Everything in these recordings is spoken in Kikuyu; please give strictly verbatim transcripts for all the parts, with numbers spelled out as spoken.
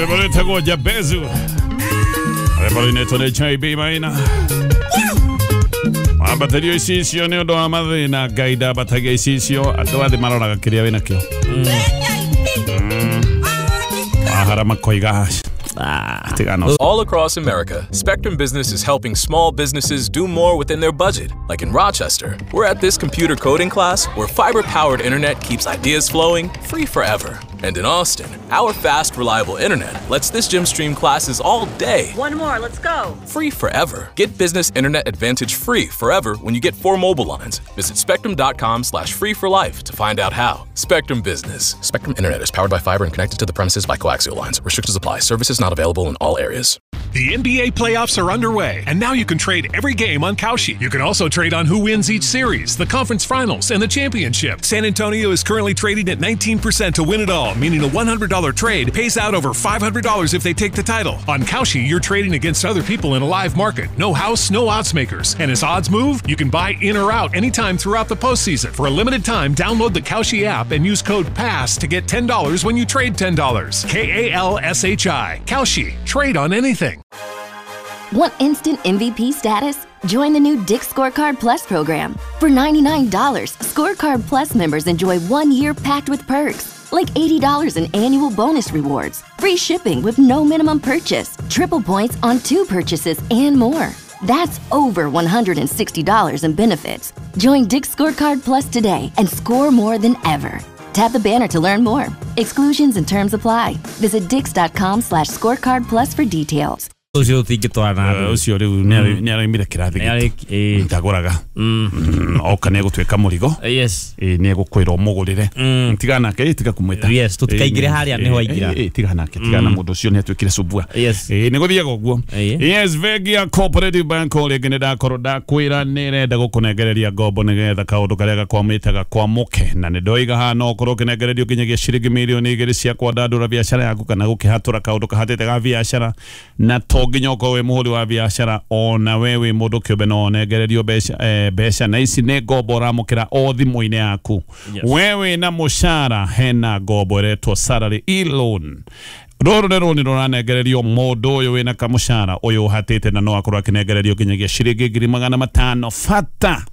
Rwĩmbo Jabezu rwĩmbo rũinĩtwo nĩ J B Maina. Wambatĩrio icicio nĩ ũndũ wa mathĩna, Ngai ndambatagia icicio, andũ athĩ maroraga kĩrĩa wĩnakĩo. Wahara makoiga All across America, Spectrum Business is helping small businesses do more within their budget. Like in Rochester, we're at this computer coding class where fiber-powered internet keeps ideas flowing free forever. And in Austin, our fast, reliable internet lets this gym stream classes all day. One more, let's go. Free forever. Get business internet advantage free forever when you get four mobile lines. Visit spectrum.com slash free for life to find out how. Spectrum Business. Spectrum Internet is powered by fiber and connected to the premises by coaxial lines. Restrictions apply. Services not available in all areas. The N B A playoffs are underway, and now you can trade every game on Kalshi. You can also trade on who wins each series, the conference finals, and the championship. San Antonio is currently trading at nineteen percent to win it all, meaning a one hundred dollar trade pays out over five hundred dollars if they take the title. On Kalshi, you're trading against other people in a live market. No house, no odds makers. And as odds move, you can buy in or out anytime throughout the postseason. For a limited time, download the Kalshi app and use code PASS to get ten dollars when you trade ten dollars. K A L S H I. Kalshi. Trade on anything. Want instant M V P status? Join the new Dick's Scorecard Plus program. For ninety-nine dollars, Scorecard Plus members enjoy one year packed with perks, like eighty dollars in annual bonus rewards, free shipping with no minimum purchase, triple points on two purchases, and more. That's over one hundred sixty dollars in benefits. Join Dick's Scorecard Plus today and score more than ever. Tap the banner to learn more. Exclusions and terms apply. Visit dicks.com slash scorecard plus for details. Ucio tingitwarana ucio riu ni araimire kirathi gitu ndaguraga oka ni egutwika murigo yes ni egukwira umugurire tigana nake tiga kumwita yes tutikaingire haria niho aingira tigana nake tigana mundu ucio ni atwikire subua ni guthiaga uguo. Yes, bengi ya Cooperative Bank o ringi ni ndakorwo ndakwira ni irenda gukunengereria ngombo nigetha kaundu karia gakwamite gakwamuke, na ni ndoiga haha no ukorwo ukinengererio nginyagia ciringi mirioni igiri cia kwandandura biacara yaku kana gukihatura kaundu kahatite ga biacara, na to nginya ukorwo wi muhuri wa biacara ona we wi mundu kiumbe no onengererio mbeca mbeca, na ici ni ngombo uramukira o thimu-inĩ yaku. We wina mucara hena ngombo iretwo salary e-loan. Rũrũ nĩ rũni rũranengererio mũndũ ũyũ wĩna kamũcara ũyũ ũhatĩte, na no akorwo akĩnengererio nginyagia ciringi ngiri magana matano. Bata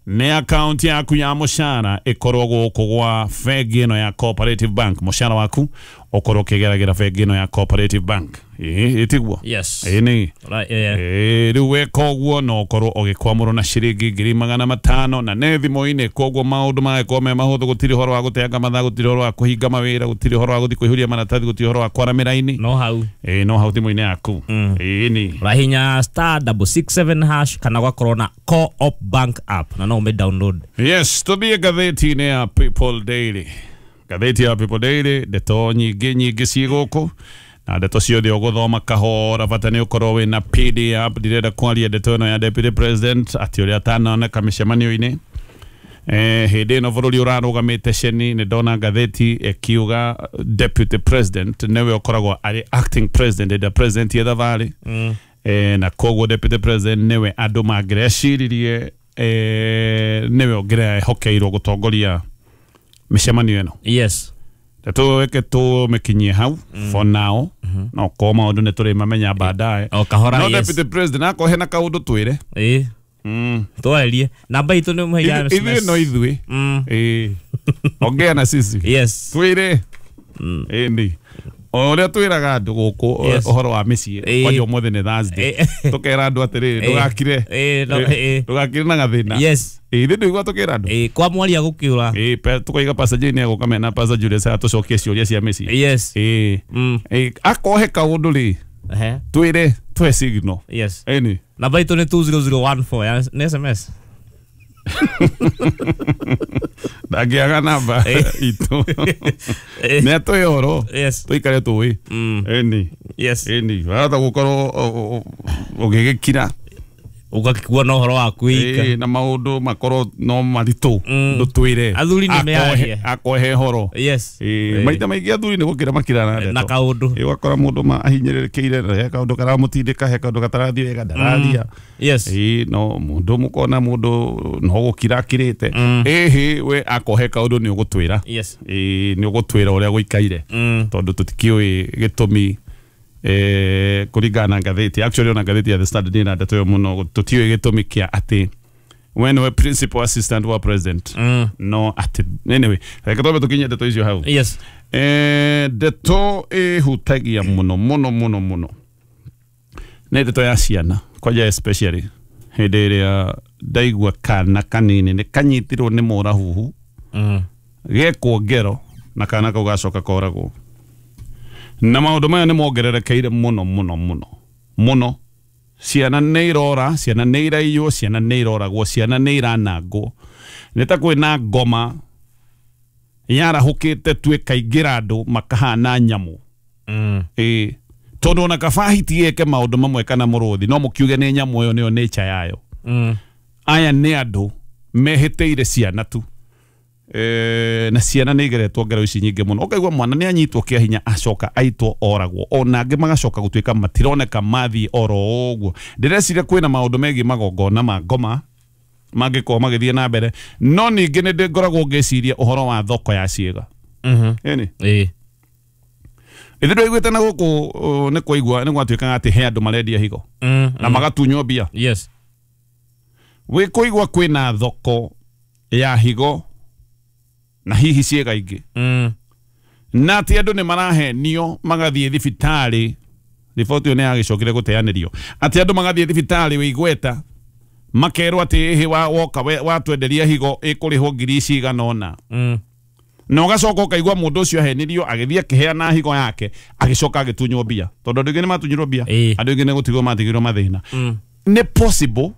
nĩ akaunti yaku ya mũcara ĩkorwo gũkũ gwa bengi ĩno ya Cooperative Bank, mũcara waku ũkorwo ũkĩgeragĩra bengi ĩno ya Cooperative Bank. Ĩĩ tiguo? Yes. Ĩĩ nĩ. Ĩĩ rĩu weka ũguo no ũkorwo ũgĩkwamũrwo na ciringi ngiri magana matano, na nĩ thimũ-inĩ, koguo maũndũ magagĩkorwo me mahũthũ, gũtirĩ ũhoro wa gũteanga mathaa, gũtirĩ ũhoro wa kũhinga mawĩra, gũtirĩ ũhoro wa gũthiĩ kũihũria maratathi, gũtirĩ ũhoro wa kwara mĩraini. No hau. Ĩĩ no hau thimũ-inĩ yaku. Ĩĩ nĩ. Ũrahinya star double six seven hash kana ũgakorwo na Co-op Bank app na no ũmĩ download. Yes, tũthiĩ ngathĩti-inĩ ya People Daily. Ngathĩti ya People Daily, ndeto nyingĩ nyingĩ ciĩ gũkũ, na ndeto ciothe ũgũthoma kahora, bata nĩ ũkorwo wĩna P D F. Ndirenda kwaria ndeto ĩno ya Deputy President atĩ ũrĩa atanoneka mĩcemanio-inĩ. Eh, hĩndĩ ĩno bũrũri ũrarũgamĩte ceni, nĩ ndona ngathĩti ĩkiuga Deputy President nĩwe ũkoragwo arĩ acting president hĩndĩ ĩrĩa president ye thabarĩ. Eh, na koguo Deputy President nĩwe andũ mangĩreciririe eh, nĩwe ũngĩrehokeirwo gũtongoria mĩcemanio ĩno. Yes. Tatuweke tumekinyie hau for now, no ko maundu ni turi mamenya baadaye. O kahora. No yes. Deputy President ako hena kaundu twire eh mm twarie namba itu ni muhaiga ithuĩ no ithuĩ mm eh ongea na sisi. Yes, twire eh ndi o ũrĩa twĩraga andũ gũkũ ũhoro wa mĩciĩ kwanja ũmũthĩ nĩ Thursday, tũkera andũ atĩrĩrĩ ndũgakire ndũgakire na gathĩna. Yes, ithuĩ ndũigua tũkĩra andũ eh kwa mwaria gũkĩũra eh tũkaiga Pastor Jane egũka mena Pastor Julius atũcokie ciũria cia mĩciĩ. Yes, eh eh akohe kaũndũ rĩ twĩre tũhe signal. Yes, ĩni namba itũ nĩ two zero zero one four ya nĩ S M S. Ndangĩaga namba itũ nĩ atũhe ũhoro tũikare tũĩ. Ĩni ĩni wahota gũkorwo ũgĩgĩkira ũgakĩkua na ũhoro waku wika na maũndũ makorwo no maritũ ndũtwĩre athuri nĩ mearie akohe ũhoro. Yes, maita maingĩ athuri nĩ gũkĩra makirana ndeto na kaũndũ ũgakora mũndũ ahinyĩrĩrĩkĩire he kaũndũ karamũtindĩka he kaũndũ gatarathiĩ wega ndararia. Yes, no mũndũ mũkona mũndũ no gũkira akirĩte ĩhĩ we akohe kaũndũ nĩ ũgũtwĩra. Yes, nĩ ũgũtwĩra ũrĩa gũikaire tondũ tũtikĩũĩ gĩtũmi Eh, kũringana na ngathĩti, actually ona ngathĩti ya The Standard ĩna ndeto ĩyo mũno. Tũtiũĩ gĩtũmi kĩa atĩ we nĩwe principal assistant wa president, Mm. no atĩ anyway, reke twambe tũkinye ndeto icio hau. Yes. Eh, ndeto ĩhutagia mũno mũno mũno mũno nĩ ndeto ya ciana kwanja, especially hĩndĩ ĩrĩa ndaigua kana kanini nĩ kanyitirwo nĩ mũrahuhu, Mm. gekwo ngero na kana kau gacoka koragwo. Na maũndũ maya nĩ mongererekeire mũno mũno mũno mũno. Ciana nĩ irora, ciana nĩ iraiywo, ciana nĩ iroragwo, ciana nĩ iranangwo. Nĩ ta kwĩna ngoma yarahũkĩte tu ĩkaingĩra andũ makahana nyamũ. Mm. Ĩĩ, tondũ ona kaba hiti ĩke maũndũ mamwe kana mũrũthi, no mũkiuge nĩ nyamũ ĩyo nĩyo nature yayo. Mm. Aya nĩ andũ mehĩtĩire ciana tu. E, na ciana nĩ igeretwo ngero ici nyingĩ mũno, ũkaigua mwana nĩ anyitwo kĩa hinya, acoka aitwo, oragwo, ona angĩ magacoka gũtuĩka matironeka, mathiĩ oro ũguo. Ndĩreciria kwĩna maũndũ megiĩ magongona ma ngoma mangĩkorwo magĩthiĩ na mbere, no ningĩ nĩ ndĩ ngoragwo ngĩciria ũhoro wa thoko ya ciĩga. Mhm. Ĩni. Ĩĩ. Ithuĩ ndwaiguĩte na gũkũ uh, nĩ kwaigua nĩ gwatuĩkaga atĩ he andũ marendia higo Mm. na magatunywo mbia. Yes. Wĩ kũigua kwĩna thoko ya higo na hihi ciĩga ingĩ, Mm. na atĩ andũ nĩ marahenio magathiĩ thibitarĩ. Riboti ĩyo nĩ yagĩcokire gũteanĩrio atĩ andũ magathiĩ thibitarĩ wĩ igweta makerwo atĩ ĩhĩ wa woka we- watwenderia higo ĩkũrĩhwo ngiri cigana ũna, Mm. na ũgacoka ũkaigua mũndũ ũcio ahenirio, agĩthiĩ akĩheana higo yake, agĩcoka agĩtunywo mbia, tondũ andũ aingĩ nĩ matunyirwo mbia. Ĩĩ. Andũ aingĩ nĩ gũtigwo matigirwo mathĩna. Mm. Nĩ possible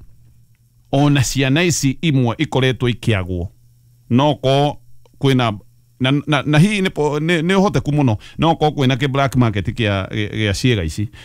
ona ciana ici imwe ikoretwo ikĩagwo, no ko kwĩna na, na, na hihi nĩ po- nĩ nĩ ũhoteku mũno no ko kwĩna kĩ black market kĩa gĩa ciĩga ici.